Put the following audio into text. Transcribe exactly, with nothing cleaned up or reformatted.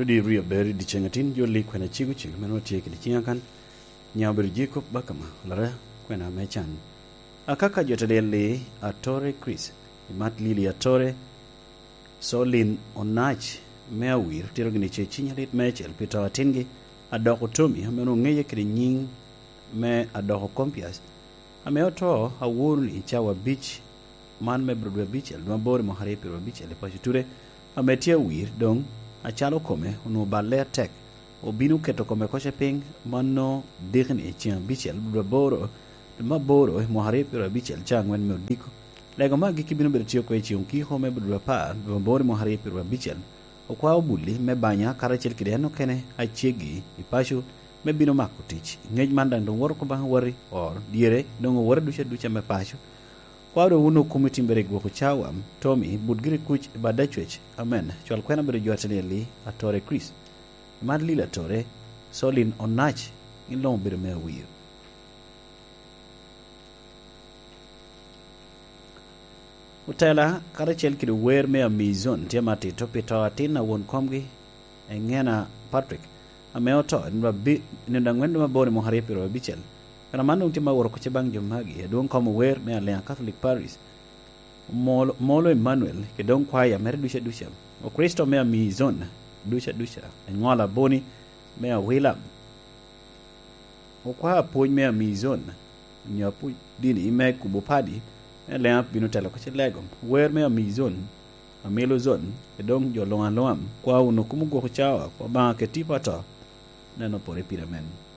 Rudi rio ber i dyeceŋ atin, jo lik kwena cego cego, meno tye kede ciŋa kan. Nya obedo Jacob Bakama, lara kwena me can. Akaka jo te lyel li, Atore Chris, i mat Lili Atore, Solin Onac me Awir, tito gini ce cinya lit meicel pi to atingi, Adoko Tommy, ame onwoŋo ŋeye kede nyiŋ me Adoko Compias, ame oto aworo ni cawa abic man me Brod Abicel, dwe aboro i mwaka aryo pyeraryo abicel i paco Ture, ame tye awir doŋ acalo kome onwoŋo balle atek, obino keto kome koce piny, mano dikni ceŋ abicel, dwe aboro, dwe me aboro i mwaka aryo pyeraryo abicel, cawa aŋwen me odiko. Lego me agikki bino bedo tye oko i ceŋ okiko me dwe apar, dwe aboro i mwaka aryo pyeraryo abicel. Okwao Bulli me banya karacel kede en okene aceggi i paco me bino mako tic. Ngec man daŋ doŋ woto oko baŋ awati oro dyere, doŋ owote ducu aduca me paco. Kwao doŋ wun okum i timbere i gwoko cawa, Tommy, but giri kuc i bad acwec. Amen. Cwal kwena bedo jo ateni eli, Atore Chris. I mat Lili Atore, Solin Onac, gin luŋ obedo me awir. Otela, karacel kede wer me Amazon, tye matito pi to atin a won komgi, Eŋena Patrick, ame oto i nino abi-, i nino aŋwen dwe me aboro i mwaka aryo pyeraryo abicel. Kara man doŋ tye ma woro kuc baŋ jo magi, adwoŋ kom ower me Alea Catholic Parish, Molo, Molo Emmanuel, kede doŋ kwaya mere duca duca. Okricito me Amazon duca duca, eŋola boni me Awila. Okwa apwony me Amazon, onyo apwony dini me kubo padi, me Alea bino telo kacel lego. Wer me Amazon, Amilozon, kede doŋ jo luŋ aluŋa, kwa wunu kum ogwoko cawa, kwa Obaŋa keti pa to, neno pore pire men.